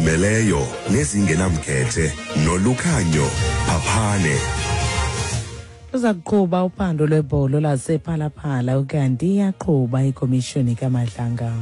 Ezizimeleyo nezingenamkhethe noLukhanyo Phaphane. Luza kuqhuba uphando lwebholo lasePhalaphala ukanti iyaqhuba ikomishoni kaMadlanga.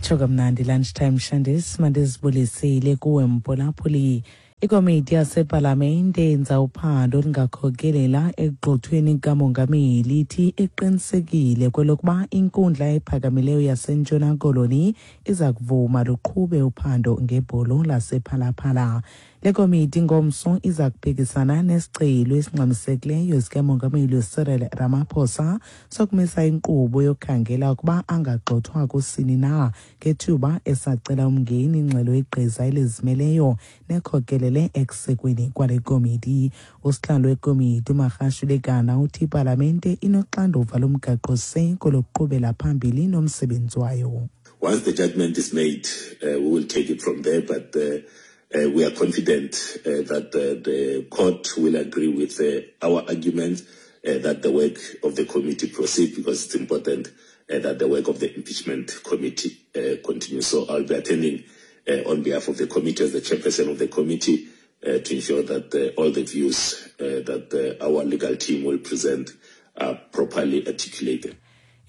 Tsho kamnandi lunchtime Shandis, mandizibulisile kuwe mphulaphuli. Ikomiti yasepalamente yenza uphando olungakhokelela ekugxothweni kukamongameli ithi iqinisekile kwelokuba inkundla ephakamileyo yaseNtshona Koloni iza kuvuma luqhube uphando ngebholo lasePhalaphala. Le komiti ngomso iza kuphikisana nesicelo esingxamisekileyo sikamongameli Cyril Ramaphosa sokumisa inkqubo yokukhangela ukuba angagxothwa kusini na ngethuba esacela umngeni ingxelo yegqiza elizimeleyo nekhokelele ekusekweni kwale komiti. Usihlalo wekomiti uMagashule Gana uthi ipalamente inoxanduva lomgaqo-siseko lokuqhubela phambili nomsebenzi wayo. Once the judgment is made, we will take it from there, but we are confident that the court will agree with our argument that the work of the committee proceed, because it's important that the work of the impeachment committee continues. So I'll be attending on behalf of the committee as the chairperson of the committee to ensure that all the views that our legal team will present are properly articulated.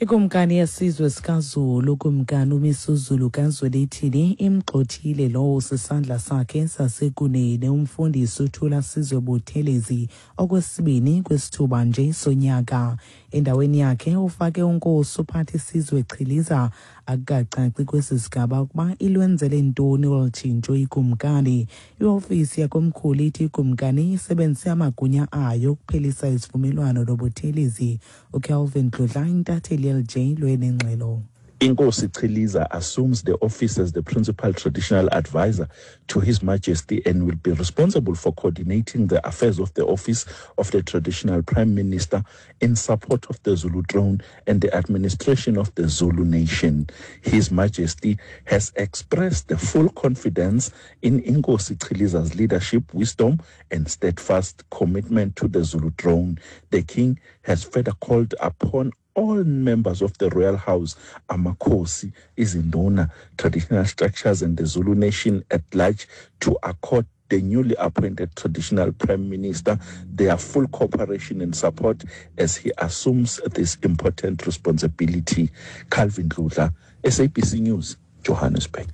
Ikumkani yesizwe sikaZulu, uKumkani uMisuzulu kaZwelithini, imgxothile lowo sisandla sakhe sasekunene umfundisi uThula Sizwe Buthelezi okwesibini kwisithuba nje sonyaka. Endaweni yakhe ufake uNkosi uPhathisizwe Chiliza. Akukacaci kwesi sigaba ukuba ilwenzele ntoni olu tshintsho ikumkani. Iofisi yakomkhulu ithi ikumkani isebenzise amagunya ayo ukuphelisa isivumelwano noButhelezi. UKelvin Dludla, intatheli yeLJ lwenengxelo. Inkosi Chiliza assumes the office as the principal traditional advisor to His Majesty and will be responsible for coordinating the affairs of the office of the traditional prime minister in support of the Zulu throne and the administration of the Zulu nation. His Majesty has expressed the full confidence in Inkosi Chiliza's leadership, wisdom, and steadfast commitment to the Zulu throne. The king has further called upon all members of the royal house, Amakosi, Izinduna, traditional structures, and the Zulu nation at large to accord the newly appointed traditional prime minister their full cooperation and support as he assumes this important responsibility. Calvin Dludla, SABC News, Johannesburg.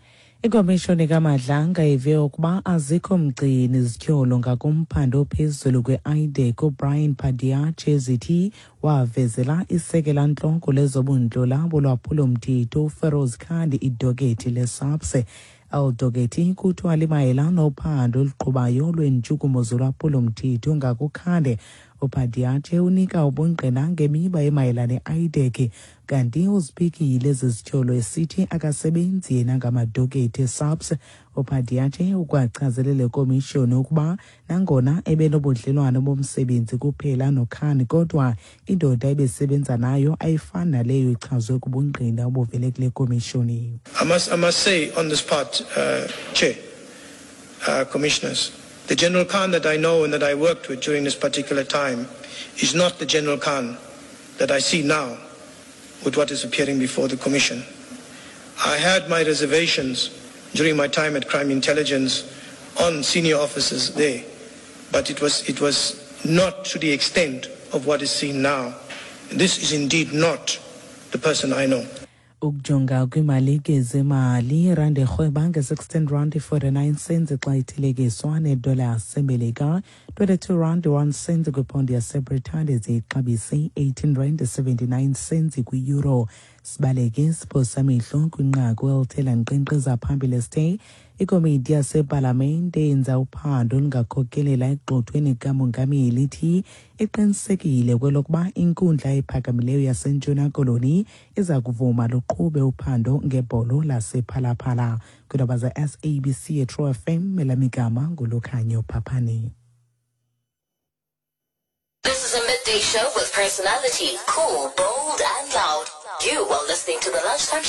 Ikomishoni kaMadlanga ive ukuba azikho mgcini zityholo ngakumphando ophezulu kwe-IDAC uBrian Padiache ezithi wavezela isekela ntloko lezobundlola bolwaphulomthetho uFeroz Khan idokethi leSAPS. Eli dokethi kuthiwa limayela nophando oluqhubayo lweentshukumo zolwaphulomthetho ngakuKhan. UPadiache unika ubungqina ngemiba emayela ne-IDAC, kanti uziphikile ezi zityholo esithi akasebenzi yena ngamadokethi eSAPS. UPadiache ukwachazele le komishoni ukuba nangona ebenobudlelwano bomsebenzi kuphela noKhan, kodwa indoda ebesebenza nayo ayifani naleyo ichazwe kubungqina obuvele kule komishoni. I must say on this part, Chair, Commissioners, the General Khan that I know and that I worked with during this particular time is not the General Khan that I see now with what is appearing before the Commission. I had my reservations during my time at Crime Intelligence on senior officers there, but it was not to the extent of what is seen now. This is indeed not the person I know. Ukujonga kwiimalike zemali, irandi erhweba nge-16 rand 49 cents xa ithelekiswa nedola yaseMelika, 22 rand 1 cent kwiphondi yaseBritane, ziyixabise 18 rand 79 cents kwi-euro. Sibaleke siphosa amehlo kwinqaku elithe lankqenkqeza phambili sithe ikomiti yasepalamente yenza uphando olungakhokelela ekugxothweni kukamongameli ithi iqinisekile kwelokuba inkundla ephakamileyo yaseNtshona Koloni iza kuvuma luqhube uphando ngebholo lasePhalaphala. Kwiindaba ze-SABC eTro FM, elamigama nguLukhanyo Phaphani. This is a midday show with personality, cool, bold, and loud. You are listening to the Lunchtime